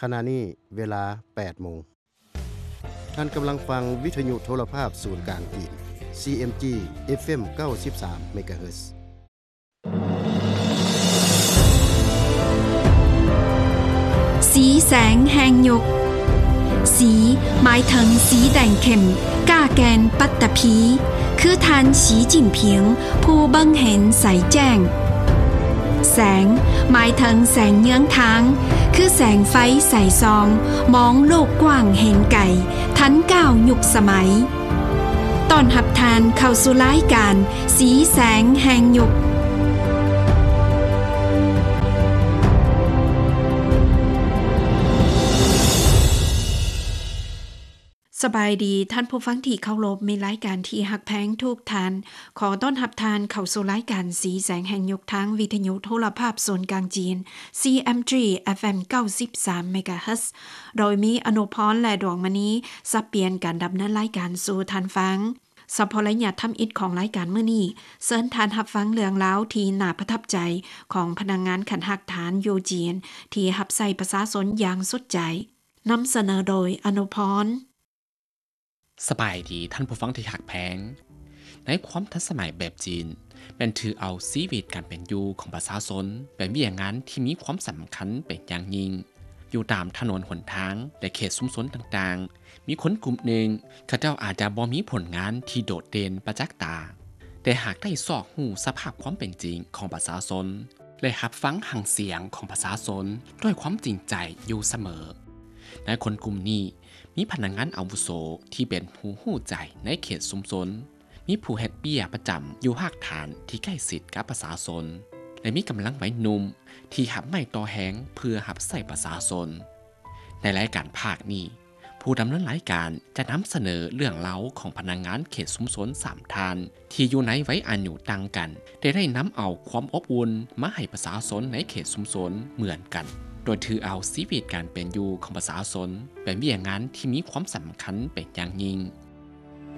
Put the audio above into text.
ຂະນະນີ້ເວລາແປດໂມງ. ທ່ານກຳລັງຟັງວິທະຍຸໂທລະພາບສູນກາງຈີນ ຊີເອັມຈີ ເອັຟເອັມ ເກົ້າສິບສາມເມກາເຮີດ. ສີແສງແຫ່ງຍຸກ. ສີ ໝາຍເຖິງສີແດງເຂັ້ມ, ກ້າແກ່ນປັດຕະພີ, ຄືທ່ານ ສີຈິ້ນຜິງ ຜູ້ເບິ່ງເຫັນໃສແຈ້ງ. ແສງ ໝາຍເຖິງແສງເຍືອງທາງ, ຄືແສງໄຟໃສສ່ອງ, ມອງໂລກກວ້າງເຫັນໄກ, ທັນກ້າວຍຸກສະໄໝ. ຕ້ອນຮັບທ່ານເຂົ້າສູ່ລາຍການ ສີແສງແຫ່ງຍຸກ. ສະບາຍດີທ່ານຜູ້ຟັງທີ່ເຄົາລົບ, ມີລາຍການທີ່ຮັກແພງທຸກທ່ານ. ຂໍຕ້ອນຮັບທ່ານເຂົ້າສູ່ລາຍການສີແສງແຫ່ງຍຸກ ທາງວິທະຍຸໂທລະພາບສູນກາງຈີນ ຊີເອັມຈີ ເອັຟເອັມ ເກົ້າສິບສາມເມກາເຮີດ, ໂດຍມີອະນຸພອນ ແລະ ດວງມະນີ ສັບປ່ຽນການດຳເນີນລາຍການສູ່ທ່ານຟັງ. ສະເພາະໄລຍະທຳອິດຂອງລາຍການມື້ນີ້, ເຊີນທ່ານຮັບຟັງເລື່ອງລາວທີ່ໜ້າປະທັບໃຈຂອງພະນັກງານຂັ້ນຮາກຖານຢູ່ຈີນ ທີ່ຮັບໃຊ້ປະຊາຊົນຢ່າງສຸດໃຈ. ນຳສະເໜີໂດຍ ອະນຸພອນ. ສະບາຍດີທ່ານຜູ້ຟັງທີ່ຮັກແພງ. ໃນຄວາມທັນສະໄໝແບບຈີນ, ແມ່ນຖືເອົາຊີວິດການເປັນຢູ່ຂອງປະຊາຊົນເປັນວຽກງານທີ່ມີຄວາມສຳຄັນເປັນຢ່າງຍິ່ງ. ຢູ່ຕາມຖະໜົນຫົນທາງ ແລະ ເຂດຊຸມຊົນຕ່າງໆ, ມີຄົນກຸ່ມໜຶ່ງ, ເຂົາເຈົ້າອາດຈະບໍ່ມີຜົນງານທີ່ໂດດເດັ່ນປະຈັກຕາ, ແຕ່ຫາກໄດ້ຊອກຮູ້ສະພາບຄວາມເປັນຈິງຂອງປະຊາຊົນ ແລະ ຮັບຟັງຫາງສຽງຂອງປະຊາຊົນດ້ວຍຄວາມຈິງໃຈຢູ່ສະເໝີ. ໃນຄົນກຸ່ມນີ້ ມີພະນັກງານອາວຸໂສທີ່ເປັນຜູ້ຮູ້ໃຈໃນເຂດຊຸມຊົນ, ມີຜູ້ເຮັດວຽກປະຈຳຢູ່ຮາກຖານທີ່ໃກ້ຊິດກັບປະຊາຊົນ ແລະ ມີກຳລັງໄວໜຸ່ມທີ່ຮັບໄມ້ຕໍ່ແຮງເພື່ອຮັບໃຊ້ປະຊາຊົນ. ໃນລາຍການພາກນີ້, ຜູ້ດຳເນີນລາຍການຈະນຳສະເໜີເລື່ອງລາວຂອງພະນັກງານເຂດຊຸມຊົນສາມທ່ານ ທີ່ຢູ່ໃນໄວອາຍຸຕ່າງກັນ, ແຕ່ໄດ້ນຳເອົາຄວາມອົບອຸ່ນມາໃຫ້ປະຊາຊົນໃນເຂດຊຸມຊົນເໝືອນກັນ, ໂດຍຖືເອົາຊີວິດການເປັນຢູ່ຂອງປະຊາຊົນເປັນວຽກງານທີ່ມີຄວາມສຳຄັນເປັນຢ່າງຍິ່ງ.